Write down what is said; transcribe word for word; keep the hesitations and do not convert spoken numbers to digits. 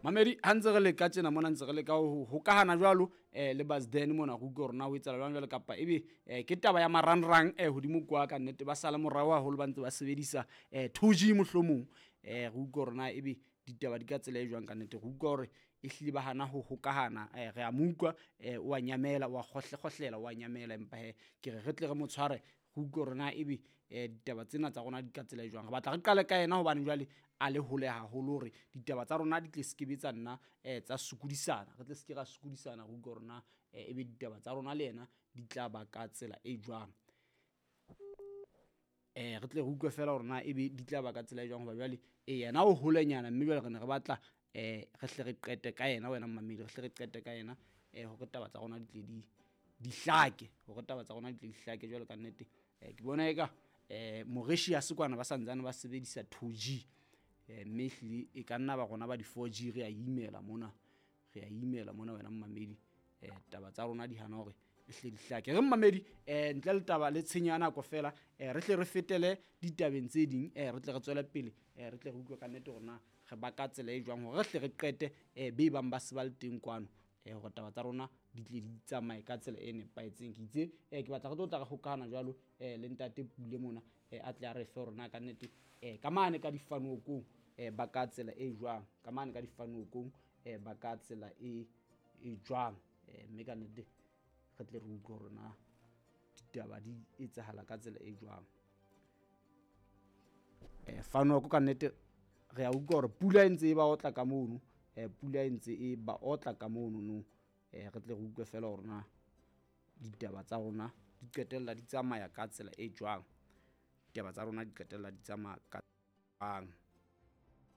Mamedi ha ntse re leka tjena mona, ntse re leka ho hokahana jwalo um le Basden mona, re utlwe hore na ho etsahala jwang jwale, kapa ebe um ke taba ya marangrang um hodimo kwa. Ka nnete ba sale morao haholo, ba ntse ba sebedisa um two G mohlomong. um Re utlwe hore na ebe ditaba di ka tsela e jwang. Ka nnete re utlwa hore ehlile ba hana ho hokahana. um Re a mo utlwa, um o a nyamela, o a kgohle-kgohlela, o a nyamela, empa hee ke re re tle re mo tshware, re utlwe hore na ebe um ditaba tsena tsa rona di ka tsela e jwang. Re batla re qale ka yena hobane jwale a le hole haholo, hore ditaba tsa rona di tle se kebe tsa nna um tsa sokodisana, re tle se ke ra sokodisana. Re utlwe hore na um ebe ditaba tsa rona le yena di tla ba ka tsela e jwang. um Re tle re utlwe fela hore na ebe di tla ba ka tsela e jwang, hoba jwale e yena o holenyana, mme jwale re ne re batla um re hle re qete ka yena. Wena mmamedi, re hle re qete ka yena um hore taba tsa rona di tle di di hlake, hore taba tsa rona di tle di hlake. Jwalo ka nnete um ke bona eka um Mauritius kwana ba santsane ba sebedisa two G, um mme ehlile e ka nna ba rona ba di-four G re a imela mona, re a imela mona wena mmamedi. um Taba tsa rona di hana hore e hle di hlake. Re mmamedi, um ntle le taba le tshenyo ya nako fela, um re hle re fetele ditabeng tse ding, um re tle re tswele pele, um re tle re utlwe ka nnete hore na re ba ka tsela e jwang, hore re hle re qete um be bang ba se ba le teng kwano, um hore taba tsa rona di tle di tsamaye ka tsela e nepahetseng. Ke itse um ke batla re tlo tla re hokahana jwalo um le ntate Pule mona, um a tle a re fe hore na ka nnete um ka mane ka difanokong um ba ka tsela e jwang, ka mane ka difanokong um ba ka tsela e e jwang, um mme ka nnete re tle re utlwe hore na ditaba di etsahala ka tsela e jwang. um Fanoko ka nnete re a utlwa hore pula e ntse e ba otla ka mono, um pula e ntse e ba otla ka mono no. um Re tle re utlwe fela hore na ditaba tsa rona di qetella di tsamaya ka tsela e jwang, ditaba tsa rona di qetella di tsamaya ka jwang.